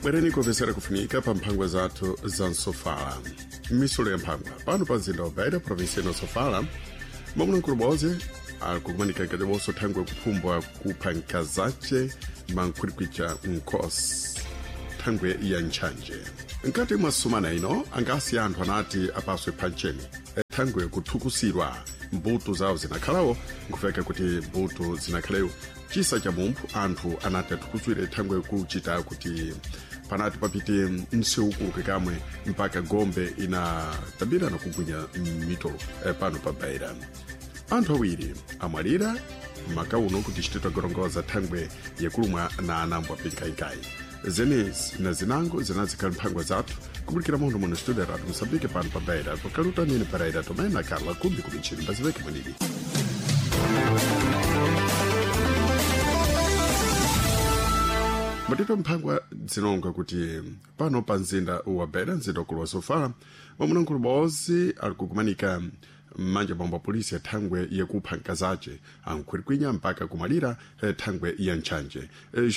Bwereni kupesera kufunika pa mphangwa zathu za msofala. M'misulo ya mphangwa pano pa mzinda wa Beira, provinsi ino Sofala, mwamuna boze akukumanika nkati thangwe kuphumbwa kupha nkazace mankhwilikwica nkhosi thangwe ya ntchanje. Nkati mwa sumana ino angasi anthu anati apaswe phancheni thangwe kuthukusidwa mbuto zawo zinakhalawo, nkufeka kuti mbuto zinakhalewo chisa cha mumphu anthu anati athukuswire thangwe kuchita kuti panati papite msewu kamwe mpaka gombe inatabirana kugwinya mitolo pano pa Beira. Anthu awiri amwalira maka uno kuti chititwa gorongoza thangwe yakulumwa na anambo apinkainkai. Zenezi na zinango zinazikhala mphangwa zathu kubulikira munthu muno studio Radio Moçambique pano pa Beira, pakaluta nini Pereira Tomé na Carla Kumbi kumichini mbaziveke mwenidi. Matito mphangwa zinonga kuti pano pa mzinda wa Beira, mzinda ukulu wa Sofala, mwamuna bozi ali kukumanika mmanja bomba wa polisi ya thangwe yakupha nkazace ankhwilikwinya mpaka kumalira thangwe ya ntchanje.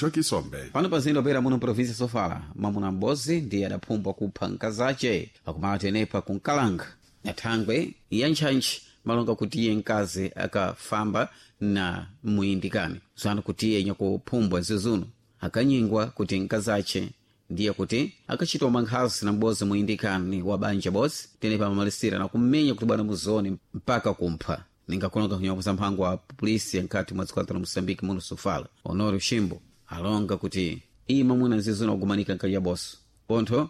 Joki Sombe. Pano pa mzinda wa Beira muno provinsi Sofala, mwamuna m'bodzi ndiye adaphumbwa kupha nkazace pakumala tenepa kunkalanga na thangwe ya ntchantchi, malonga kuti iye mkazi akafamba na muyindikani zanu kuti iye nyakuphumbwa zizuno akanyingwa kuti nkazace ndiye kuti akachitwa mankhazi na m'bodzi muyindikani wa banja bodzi tenepa amamalisira na kummenya kuti bwana muzoni mpaka kumpha. Ningakulonga kunyapo za mphango wa polisi nkati mwa dziko la Moçambique muno Sofala, Honório Chimbo alonga kuti iye mwamuna nzizuno akumanika nkati ya boso pontho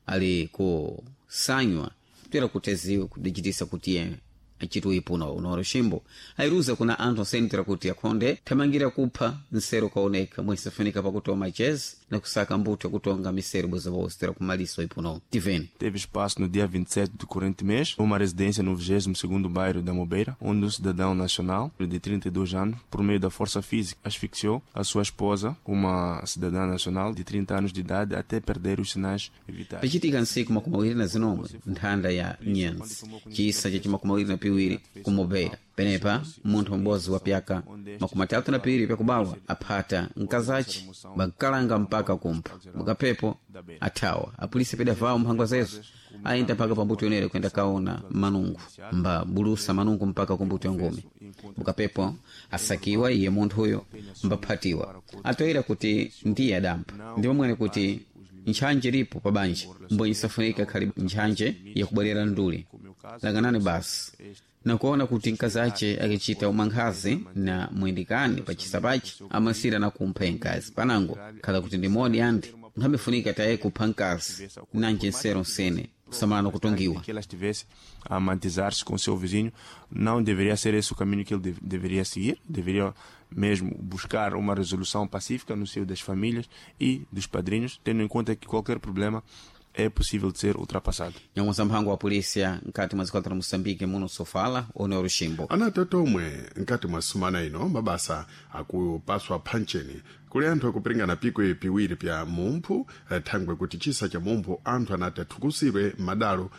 ali kusanywa kutera kuteziwe kudichitisa kuti iye achitwe ipuno. Honório Chimbo ayiruza kuna anthu osentera kuti akhonde thamangira kupha nsero kaoneka mwesafunika pakutoma chezi na kusaka mbuto yakutonga misero bwezobose tera kumaliso ipuno. Tiveni. Teve espaço no dia 27 do corrente mês, numa residência no 22º bairro da Mobeira, onde um cidadão nacional de 32 anos, por meio da força física, asfixiou a sua esposa, uma cidadã nacional de 30 anos de idade, até perder os sinais vitais. Pachitika nsiku 27 nthanda ya nyenzi chisa cha 22 ku Mobeira, penepa munthu m'bodzi wa pyaka 32 pyakubalwa aphata nkazace bankalanga mpaka kumpha mukaphepo athawa. Apolisi pedavawo mphangwa zezo ayenda mpaka pambuto yonere kuyenda kaona manungu mba bulusa manungu mpaka kumbuto ya ngumi mukapepo asakiwa iye munthu uyo mbaphatiwa atoyera kuti ndiye adampha ndipo mwene kuti ntchanje lipo pa banja mbwenye isafunika khali ntchanje yakubwerera nduli langanani basi nakuona kuti mkazace akichita umankhazi na mwindikani pa chisapachi amasira na kumpha nkazi panango khala kuti ndi modi andi nkhambifunika taye kupha nkazi nanje nsero nsene kusamalana kutongiwa. Que ela estivesse a amantizar-se com o seu vizinho, não deveria ser esse o caminho que ele deveria seguir, deveria mesmo buscar uma resolução pacífica no seio das famílias e dos padrinhos, tendo em conta que qualquer problema é possível de ser ultrapassado. Nyamwasa mphango wa polisia nkati mwa dziko la Moçambique muno Sofala, Honório Chimbo. Anati tomwe nkati mwa sumana ino mabasa akupaswa phancheni kuli anthu akupiringana pikwe piwiri pya mumphu thangwe kuti chisa cha mumphu anthu anati athukusire madalo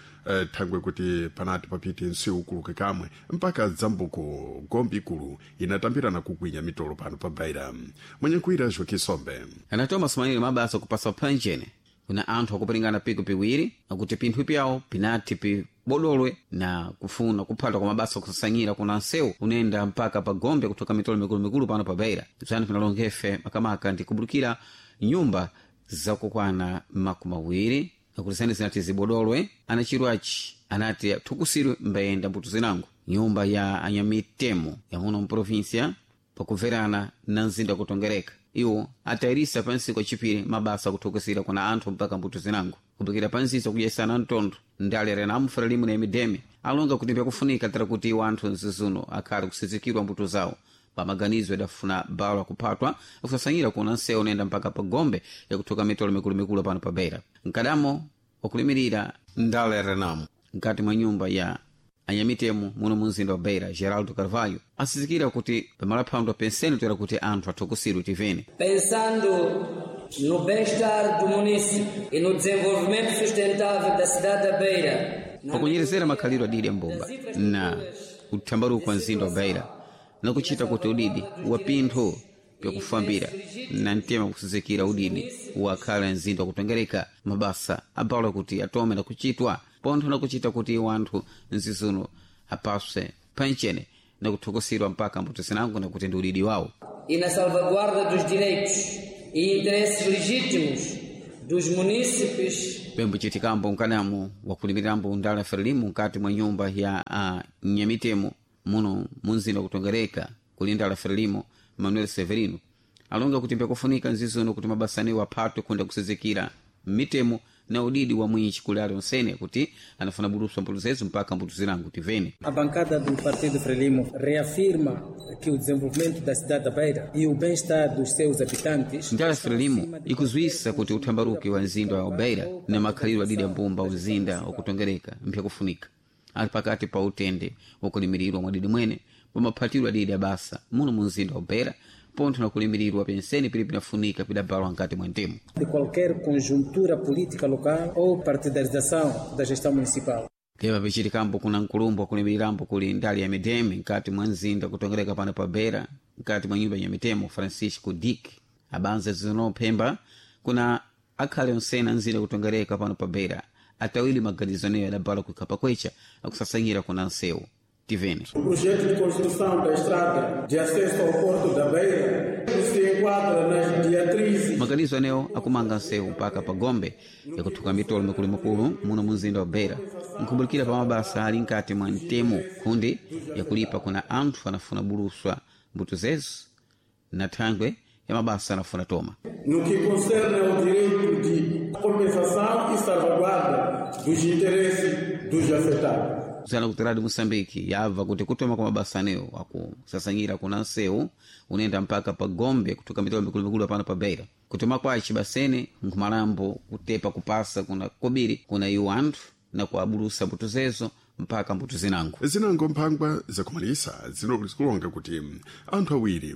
thangwe kuti panati papite msewu ukuluke kamwe mpaka dzambuko gombe ikulu inatambirana kugwinya mitolo pano pa Beira. Mwenye Joki Sombe. Anatoma sumanire mabasa kupaswa phancheni kuna anthu akupiringana piko piwiri akuti pinthu pyawo pinati pibodolwe na kufuna kuphata kwa mabasa kusasanyira kuna nsewu unenda mpaka pa gombe kutoka mitolo mikulumikulu pano pa Beira. Bzani pinalongefe makamaka ndi kubulukira nyumba zakukwana 20 akuti zani zinati zibodolwe anachirwachi anati athukusirwe mbayenda mbuto zinango nyumba ya anyamitemo yamuno mprovinsia pakumverana na mzinda kutongereka iwo atayirisa pansi kwa chipiri mabasa akuthukusira kuna anthu mpaka mbuto zinango kupikira pansiso kudyesana mtondo ndale renamu limu na imideme alonga kuti pyakufunika tera kuti iwo anthu mzizuno akhale kusizikirwa mbuto zawo pamaganizo idafuna balo akuphatwa akusasanyira kuna nsewu unayenda mpaka pa gombe yakuthuka mitolo mikulumikulu pano pa Beira. Mkadamo wakulimirira ndale renamu mkati mwa nyumba ya anyamitemo muno mu mzinda wa Beira, Geraldo Carvalho asizikira kuti pamalaphando penseni toera kuti anthu athukusirwe tivene. Pensando no bem-estar do município e no desenvolvimento sustentável da cidade da Beira, pakunyerezera makhalidwe adidi ya mbumba na uthambaruko wa mzinda wa Beira na kuchita kuti udidi wa pinthu pyakufambira na mtema kusizikira udidi wakhala mzinda wakutongereka mabasa abala kuti atome na kuchitwa pontho na kuchita kuti wanthu mzizuno apaswe pensheni na kuthokoserwa mpaka mbuto zinango na kuti ndi udidi wawo E na salvaguarda dos direitos e interesses legítimos dos munícipes pembo chitikambo mkanamu wakulimirambo ndala frelimu mkati mwa nyumba ya nyamitemo muno munzinda kutongereka kuli ndala frelimo manuel severino alonga kuti mbyakufunika nzizono kuti mabasaniwo aphatwe kunda kusizikira mitemo na udidi wa mwinchi kuli ali onsene kuti anafuna buluswa mbuto zezo mpaka mbuto zilango tivene A bancada do Partido Frelimo reafirma que o desenvolvimento da cidade da Beira e o bem-estar dos seus habitantes ndala frelimo ikuzwisa kuti uthambaruki wa mzinda wa beira na makhalidwe adidi ambumba uzinda wakutongereka mpyakufunika ali pakati pa utende wakulimirirwa mwadidi mwene pamaphatilwe adidi abasa muno mu mzinda wa beira pontho na kulimirirwa penseni pili pinafunika pidabalwa nkati mwa ntemo de qualquer conjuntura política local ou partidarização da gestão municipal. Tepa pichitikambo kuna nkulumbo akulimirambo kuli ndali ya mideme nkati mwa mzinda kutongereka pano pa beira nkati mwa nyumba ya mitemo francisco dick abanza zinophemba kuna akhale onsena mzinda kutongereka pano pa beira atawili maganizo aneyo adabala kuikhapa kwecha akusasanyira kuna nsewu tivene O projeto de construção da estrada de acesso ao Porto da Beira se enquadra nas diretrizes maganizo anewo akumanga nsewu mpaka pa gombe yakuthuka mitolo mikulumakulu muno munzinda wa beira nkhumbulukira pa mabasa ali nkati mwa mtemo kundi yakulipa kuna anthu anafuna buluswa mbuto zezo na thangwe ya mabasa anafuna toma no que concerne ao direito de compensação e salvaguarda dos interesses dos afetados. zana kuti radio moçambique yabva kuti kutoma kwa mabasa anewo akusasanyira kuna nsewu unenda mpaka pa gombe kutoka mitolo mikulumikulu apano pa beira kutoma kwaci basene nkhumalambo kutepa kupasa kuna kobiri kuna iwo anthu na kuabulusa mbuto zezo mpaka mbuto zinango zinango mphangwa zakumalisa zinokulonga kuti anthu awiri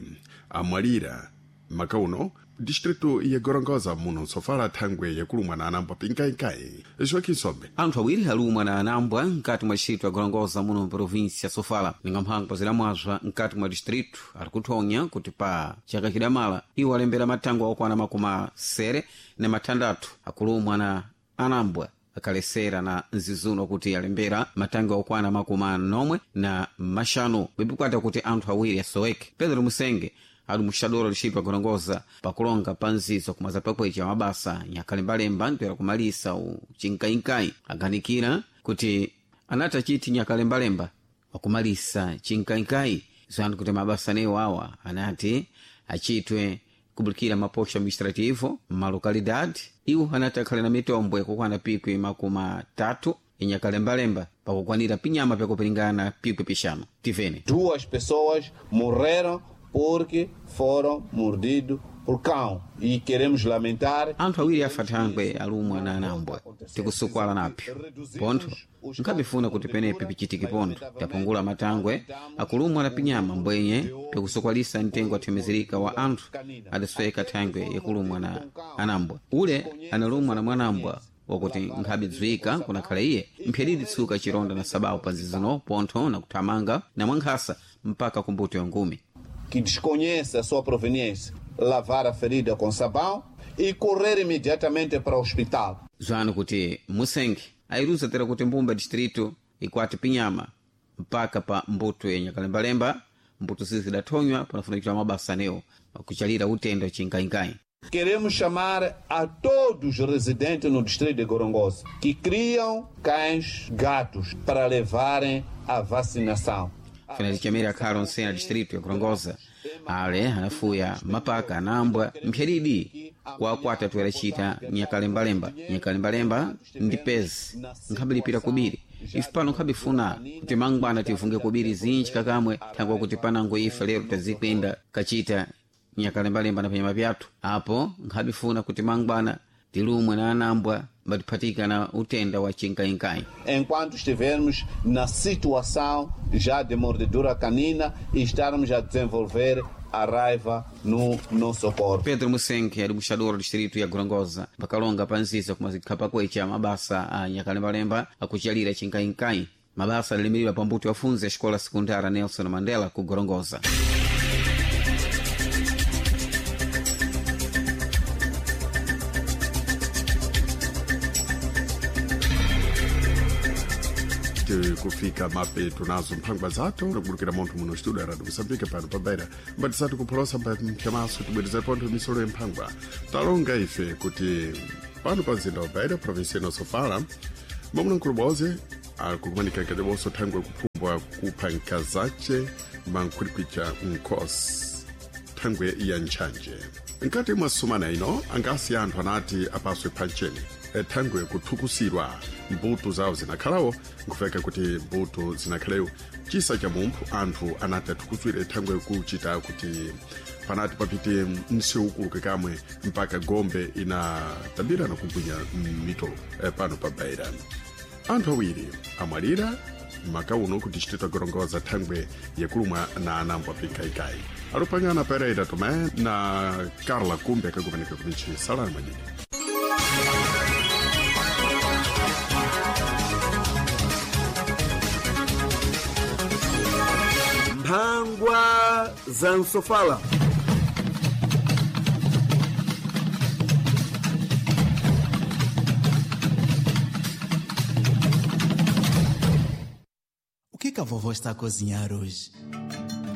amwalira makauno distritu ya gorongoza muno nsofala thangwe yakulumwa na anambwa pinkainkai joaquim sombe anthu awiri alumwa na anambwa mkati mwa distritu ya gorongoza muno mprovinsi ya sofala ninga mphangwa zilamwazwa mkati mwa distritu ali kuthonya kuti pa chaka chidamala iwo alembera matangwe okwana makumi asere na mathandathu akulumwa na anambwa akalesera na nzizuno kuti alembera matangwe okwana makumi anomwe na maxanu bwibwikwata kuti anthu awiri asoweke pedro musenge ali muxadoro distritu ya gorongoza pakulonga pa nzizo kumaza pakwecha mabasa nyakalembalemba ntoera kumalisa ucinkainkai aganikira kuti anati achiti nyakalembalemba wakumalisa cinkainkai zanu kuti mabasa anewo awa anati achitwe kubulikira maposto administrativo malokalidade iwo anati akhale na mitombo yakukwana pikwi makumi atatu inyakalembalemba pakukwanira pinyama pyakupiringana pikwi pixanu tivene Duas pessoas morreram porque foram mordidos por cão. E queremos lamentar. Anthu awiri afa thangwe alumwa na anambwa tikusukwala napyo pontho nkhabifuna kuti penepe pichitike pontho tapungula matangwe akulumwa na pinyama mbwenye pyakusukwalisa mtengo athemezereka wa anthu adasweka thangwe yakulumwa na anambwa ule analumwa na mwanambwa wakuti nkhabidziwika kunakhala iye mphyadidi tsuka chironda na sababu pa nzizino pontho na kuthamanga na mwankhasa mpaka kumbuto ya ngumi Que desconhece a sua proveniência, lavar a ferida com sabão e correr imediatamente para o hospital. Zwano kuti musenge ayiruza tera kuti mbumba distrito ikwati pinyama mpaka pa mbuto ya nyakalembalemba mbuto zizi zidathonywa panafuna kuchita mabasa anewo kuchalira utendo chinkainkai. Queremos chamar a todos os residentes no distrito de Gorongosa que criam cães, gatos para levarem a vacinação. Fenati chamere akhala onsena distrito ya Gorongosa ale anafuya mapaka anambwa mphyadidi kwakwata toeracita nyakalembalemba nyakalembalemba ndi pezi nkhambilipira kubiri ife pano nkhabifuna kuti mangwana tivunge kubiri zinji kakamwe thangwa kuti panango ife lero tazikwenda kachita nyakalembalemba na panyama pyathu apo nkhabifuna kuti mangwana tilumwe na anambwa batiphatika na utenda wa chinkainkai. Enquanto estivermos na situação já de mordedura canina e estarmos a desenvolver a raiva no nosso corpo. Pedro Musenke ali muxadoro distrito ya Gorongosa pakalonga panziza kumazikhala kwecha mabasa a nyakalembalemba akuchalira chinkainkai mabasa alimiridwa pambuto afunze a escola secundária Nelson Mandela ku Gorongosa. Tikufika mapeto nazo mphangwa zathu nakubulukira munthu muno studio ya radio Moçambique pano pabeira mbatisati kupholosa mpyamaso tibwereza pontho misolo ya mphangwa. Talonga ife kuti pano pa mzinda wa Beira, provinsia ino Sofala, mwamuna boze akukumanika nkati thangwe kuphumbwa kupha nkazace mankhwilikwica nkosi thangwe ya ntchanje. Nkati mwa sumana ino angasi anthu anati apaswe phancheni thangwe kuthukusidwa mbuto zawo zinakhalawo, nkufeka kuti mbuto zinakhalewo chisa cha mumphu anthu anati athukuswire thangwe kuchita kuti panati papite msewu ukuluke kamwe mpaka gombe inatabira nakugwinya mitolo pano pa Beira. Anthu awiri amwalira maka uno kuti chiteta gorongoza thangwe yakulumwa na anambo apikaikai. Alupangana Pereira Tomé na Carla Kumbe akakumanika kumichi salani mwanyini. Mphangwa za Nsofala. O que que a vovó está a cozinhar hoje?